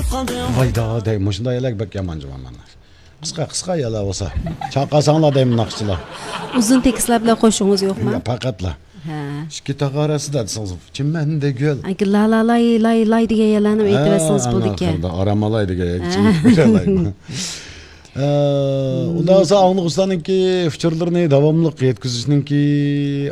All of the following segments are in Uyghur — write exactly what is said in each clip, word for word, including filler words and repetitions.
ۋايدا دەي، مۇشۇنداق يەرلەرگە بەك يامان جۇمۇ مەنلەر. قىسقا، قىسقا يەرلەر بولسا. چاقاساڭلار دەيمەن ناخشىچىلار. ئۇزۇن تېكىستلار بىلەن قوشۇڭىز يوقما؟ يا، پەقەتلا. ھە. ئىككى تاغ ئارىسىدا دېسىڭىز، چىمەندە گۈل. ئاكا، لا، لا، لاي، لاي، لاي دېگەن يەرلەرنى ھە، ئېيتىۋەتسىڭىز ئاڭا بولىدىكەن. قىردا، ئارام ئالاي دېگەن يەرگىچە ھە. ئېيتىپ بېرەلەيمەن. ئە، ئۇنداق بولسا ئاڭلىغۇچىلارنىڭكى ئۇچۇرلىرىنى داۋاملىق يەتكۈزۈشنىڭكى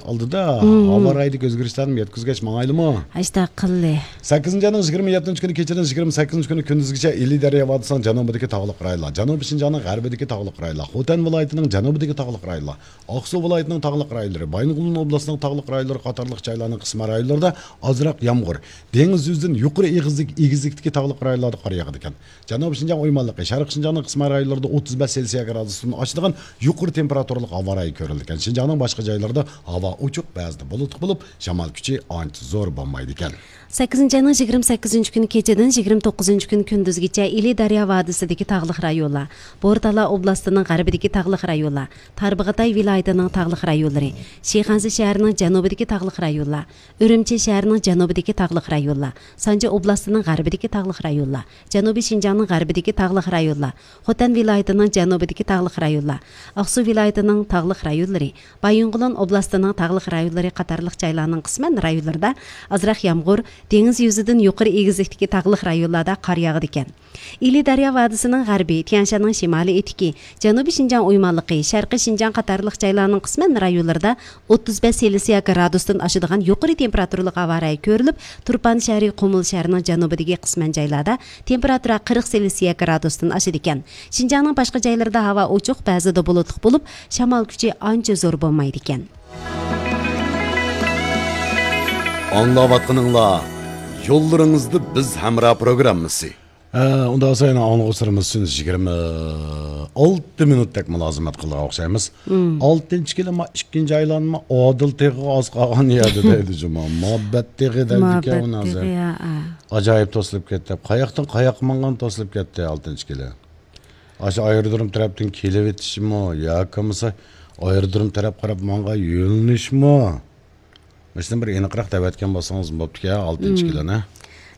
ئالدىدا مم. ھاۋا رايىدىكى ئۆزگىرىشلەرنى يەتكۈزگەچ ماڭايلىمۇ؟ ئاشتا قىللى. سەككىزىنچى ئاينىڭ يىگىرمە يەتتىنچى كۈنى كېچىدىن يىگىرمە سەككىزىنچى كۈنى كۈندۈزگىچە ئىلى دەريا ۋادىسىنىڭ جەنۇبىدىكى تاغلىق رايونلار، جەنۇبىي شىنجاڭنىڭ غەربىدىكى تاغلىق رايونلار، خوتەن ۋىلايىتىنىڭ جەنۇبىدىكى تاغلىق رايونلار، ئاقسۇ ۋىلايىتىنىڭ تاغلىق رايونلىرى، بايىنغولىن ئوبلاستىنىڭ تاغلىق رايونلىرى قاتارلىق جايلارنىڭ قىسمەن رايونلىرىدا ئازراق يامغۇر، دېڭىز يۈزىدىن يۇقىرى ئېگىزلىك، ئېگىزلىكتىكى تاغلىق رايونلاردا قار ياغىدىكەن. جەنۇبىي شىنجاڭ ئويمانلىقى، شەرقىي شىنجاڭنىڭ قىسمەن رايونلىرىدا ئوتتۇز بەش سېلسىيە گرادۇستىن ئاشىدىغان يۇقىرى تېمپېراتۇرىلىق ھاۋا رايى كۆرۈلىدىكەن. شىنجاڭنىڭ باشقا جايلىرىدا ھاۋا ئوچۇق، بەزىدە بۇلۇتلۇق بولۇپ، شامال كۈچى ئانچە زور بولمايدىكەن. سەككىزىنچى ئاينىڭ يىگىرمە سەككىزىنچى كۈنى كېچىدىن يىگىرمە توققۇزىنچى كۈنى كۈندۈزگىچە ئىلى دەريا ۋادىسىدىكى تاغلىق رايونلار، بورتالا ئوبلاستىنىڭ غەربىدىكى تاغلىق رايونلار، تاربىغاتاي ۋىلايىتىنىڭ تاغلىق رايونلىرى، شىخەنزە شەھىرىنىڭ جەنۇبىدىكى تاغلىق رايونلار، ئۈرۈمچى شەھىرىنىڭ جەنۇبىدىكى تاغلىق رايونلار، سانجى ئوبلاستىنىڭ غەربىدىكى تاغلىق رايونلار، جەنۇبىي شىنجاڭنىڭ غەربىدىكى تاغلىق رايونلار، خوتەن ۋىلايىتىنىڭ جەنۇبىدىكى تاغلىق رايونلار، ئاقسۇ ۋىلايىتىنىڭ تاغلىق رايونلىرى، بايىنغولىن ئوبلاستىنىڭ تاغلىق رايونلىرى قاتارلىق جايلارنىڭ قىسمەن رايونلىرىدا ئازراق يامغۇر، دېڭىز يۈزىدىن يۇقىرى ئېگىزلىكتىكى تاغلىق رايونلاردا قار ياغىدىكەن. ئىلى دەريا ۋادىسىنىڭ غەربى، تيەنشاننىڭ شىمالىي ئېتىكى، جەنۇبىي شىنجاڭ ئويمانلىقى، شەرقىي شىنجاڭ قاتارلىق جايلارنىڭ قىسمەن رايونلىرىدا ئوتتۇز بەش سېلسىيە گرادۇستىن ئاشىدىغان يۇقىرى تېمپېراتۇرىلىق ھاۋا رايى كۆرۈلۈپ، تۇرپان شەھىرى، قۇمۇل شەھىرىنىڭ جەنۇبىدىكى قىسمەن جايلاردا تېمپېراتۇرا قىرىق سېلسىيە گرادۇستىن ئاشىدىكەن. شىنجاڭنىڭ باشقا جايلىرىدا ھاۋا ئوچۇق، بەزىدە بۇلۇتلۇق بولۇپ، شامال كۈچى ئانچە زور بولمايدىكەن. ئاڭلاۋاتقىنىڭلار يوللىرىڭىزدا بىز ھەمراھ پروگراممىسى. ھە، ئۇنداق بولسا يەنە ئاڭلىغۇچىلىرىمىز ئۈچۈن يىگىرمە ئالتە مىنۇتتەك مۇلازىمەت قىلىدىغان ئوخشايمىز. مم. ئالتىنچى كىلىم، ئىككىنچى ئايلانما ئادىل تېغىغا ئاز قالغان يەردە دەيدۇ جۇمۇ. مۇھەببەت تېغى دەيدىكەن مۇھەببەت ئۇنى ھازىر. تېغى، ھە، ھە. ئاجايىپ توسۇلۇپ كەتتى. قاياقتىن قاياققا ماڭغان توسۇلۇپ كەتتى ئالتىنچى كىلىم. ئاشۇ ئايرودروم تەرەپتىن كېلىۋېتىشمۇ ياكى بولمىسا ئايرودروم تەرەپ قاراپ ماڭغان يۆنىلىشمۇ؟ مۇشۇنى بىر ئېنىقراق دەۋەتكەن بولسىڭىز بوپتىكەن، ئالتىنچى مم. كىلىنى.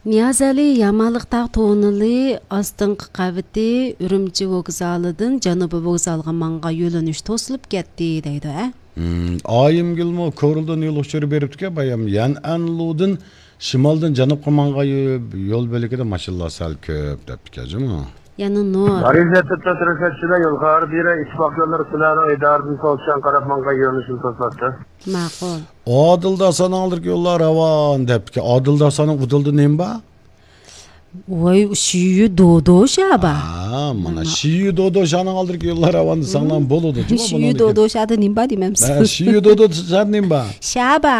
نىيازئەلى، يامالىق تاغ توننېلى ئاستىنقى قەۋىتى ئۈرۈمچى ۋوگزالىدىن جەنۇبىي ۋوگزالغا ماڭغان يۆنىلىش توسۇلۇپ كەتتى دەيدۇ، ھە؟ مم، ئايىمگۈلمۇ كورلىدىن يول ئۇچۇرى بېرىپتىكەن، بايام يەنئەنلۇدىن شىمالدىن جەنۇبقا ماڭغان يو-، يول بۆلىكىدە ماشىنىلار سەل كۆپ دەپتىكەن جۇمۇ. يەنە نۇر. غەرىزە تۇتۇپ تۇرۇشى ئىچىدە يول خەۋەر بېرە ئىتتىپاق يوللىرى سىلەرنىڭ ئىدارىدىن سولچان قاراپ ماڭغان يۆنىلىشنى توساتتى. ماقۇل. ئادىل داسانىڭ ئالدىدىكى يوللار راۋان دەپتىكەن. ئادىل داسانىڭ ئۇدۇلدا نېمە بار؟ ۋاي، شىيۈ دودو شابا. ھا، مانا مانا. شىيۈ دودو شانىڭ ئالدىدىكى يوللار راۋان دېسەڭلار مم. بولىدۇ. جۇمۇ شىيۈ بۇنىڭدىكى. دودو شادا نېمە بار دېمەمسىز؟ ھە، شىيۈ دودو شادا نېمە بار؟ شابا،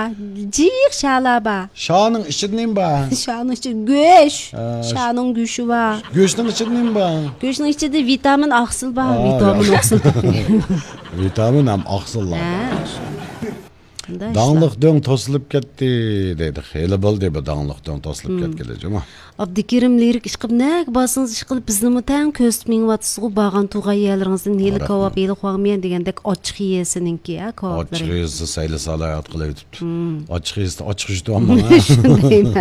جىق شالا بار. شانىڭ ئىچىدە نېمە بار؟ شانىڭ ئىچىدە گۆش. ھە، شانىڭ گۆشى بار. گۆشنىڭ ئىچىدە نېمە بار؟ گۆشنىڭ ئىچىدە ۋىتامىن ئاقسىل بار. ھا، ۋىتامىن ياخشى. ئاقسىل. ۋىتامىن ھەم ئاقسىللار. ھە، شۇ. داڭلىق دۆڭ توسۇلۇپ كەتتى دەيدۇ. خېلى بولدى بۇ داڭلىق دۆڭ توسۇلۇپ مم. كەتكىلى جۇمۇ. ئابدۇكېرىم لىرىك ئىشقىلىپ نەگە بارسىڭىز ئىشقىلىپ بىزنىمۇ تەڭ كۆزىتىپ مېڭىۋاتىسىزغۇ، بارغان تۇرغان يەرلىرىڭىزدىن ھېلى رەھمەت. كاۋاپ، ھېلى خۇاڭميەن دېگەندەك ئاچچىق يېسىنىڭكى، ھە، كاۋاپلىرى. ئاچچىق يېسە سەيلە سالاھىيەت قىلىۋېتىپتۇ. مم. ئاچچىق يېسە ئاچچىق يۈتۈۋالماڭ، ھە. شۇندايمۇ؟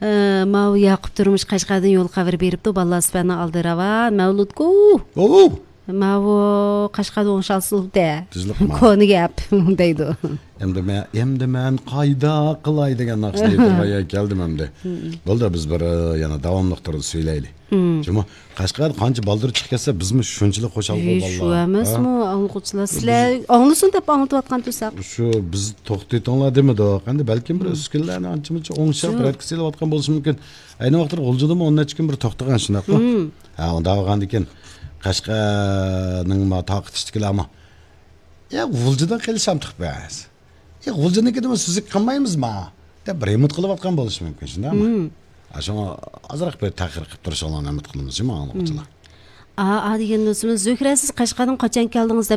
ئە، ماۋۇ ياقۇپ تۇرمۇش قەشقەردىن يول خەۋىرى بېرىپتۇ. بالىلار سۈپەتنىڭ ئالدى راۋان. مەۋلۇتكۇ. ئوۋ! ماۋۇ قەشقەردە ئوڭشالسىلدە. تۈزلۈك ما. كونا گەپ دەيدۇ. ئەمدى مەن، ئەمدى مەن قايدا قىلاي دېگەن ناخشىنى ئېيتىدىغان يەرگە كەلدىم ئەمدى. مم. بولدى، بىز بىر، ئە، يەنە داۋاملىق تۇرۇپ سۆيلەيلى. مم. جۇمۇ، قەشقەردە قانچە بالدۇر چىقىپ كەتسە، بىزمۇ شۇنچىلىك خۇشال بولىدۇ، بالىلار. شۇ ئەمەسمۇ، ھە؟ ئاڭلىغۇچىلار؟ سىلەر ئاڭلىسۇن دەپ ئاڭلىتىۋاتقان تۇرساق. شۇ، بىز توختىتىڭلار دېمىدۇق. ئەمدى بەلكىم بىر مم. ئۈسكۈنىلەرنى ئانچە-مۇنچە ئوڭشاپ، شۇ. رەتكە سېلىۋاتقان بولۇشى مۇمكىن. ئەينى ۋاقىتتا غۇلجىدىمۇ ئون نەچچە كۈن بىر توختىغان، شۇنداققۇ؟ مم. ھە، ئۇنداق بولغاندىكىن قەشقەرنىڭ ما تارقىتىشتىكىلەرمۇ، يا، غۇلجىدىن قېلىشامتۇق بەس. يا، غۇلجىنىڭكىدىمۇ سۈزۈك قىلمايمىزما؟ دەپ رېمونت قىلىۋاتقان بولۇشى مۇمكىن، شۇنداقمۇ؟ مم. ھە، شۇڭا ئازراق بىر تەخىر قىلىپ تۇرۇشۇڭلارنى ئۈمىد قىلىمىز، جۇمۇ ئاڭلىغۇچىلار. مم. ئا، ئا دېگەن دوستىمىز، زۆھرە، سىز قەشقەردىن قاچان كەلدىڭىز دەپ